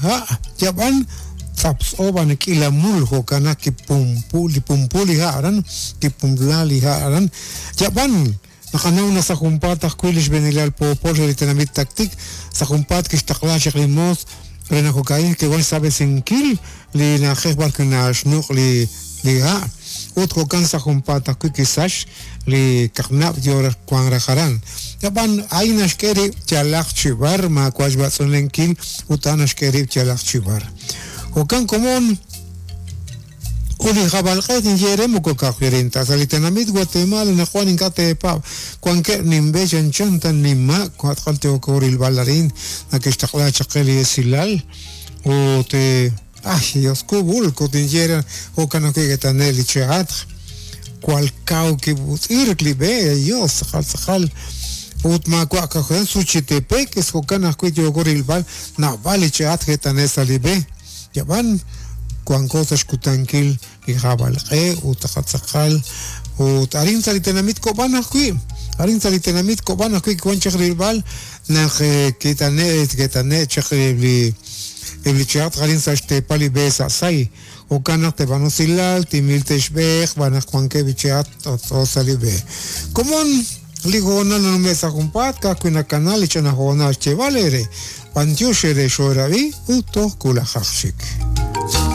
ha' yab'an tz'aptz'o b'an k'iila mul jo'kan naq kipumpu li pumpu li ha' aran kipumpla li ha' aran yab'an naqanaw naq sa' junpaat ajwi' li xb'eenilal poopol re li tenamit Tactic sa' junpaat kixtaqla chaq li moos re naq jo'ka'in ke'wan xsaab'esinkil li na'ajej b'ar wi' naxnuq' li li ha' ut jo'kan sa' junpaat ajwi' kisach li kaqnab' yo raj wank raj aran. Ab'an a'in naxk'e rib' yalaq chi b'ar maawa' xb'atz'unlenkil ut a'an naxk'e rib' yalaq chi b'ar. Jo'kan komon ut li hab'alq'e tinye eere moko ka'ajwi' arin ta sa' li tenamit Guatemala anaqwan ink'a' teepaab' wankeb' ninb'e chanchan ta nima' tz'aqal yooko rilb'al arin nake'xtaqla chaq qe li esilal ut ay Dios kub'ulk ut tinye eere jo'kan ajwi' ke't'ane' li che'atq jwal kaw kib'utz'irk li b'e Dios tz'aqal tz'aqal ut maawa' ka'ajwi' Suchitepéquez jo'kan ajwi' yooko rilb'al naab'al li che'atq ke't'ane' sa' li b'e. Yab'an wanko sa' xkutankil li hab'alq'e ut tz'aqal ut arin sa' li tenamit Kob'an ajwi', arin sa' li tenamit Kob'an ajwi' kiwan chaq rilb'al naq ke't'ane' ke't'ane' chaq eb' li eb' li chihab' arin sa' xteepal li b'e sa' Say, jo'kan naq te'b'aanu usilal, timil te'xb'eeq xb'aan naq wankeb' li chihab' t'ot'o sa' li b'e. Komon li hoonal nanume' sa' junpaat ka'ajwi' nakana li ch'ina hoonal xyeeb'al eere. B'antiox eere xoo'erab'i ut toj wulajaq chik.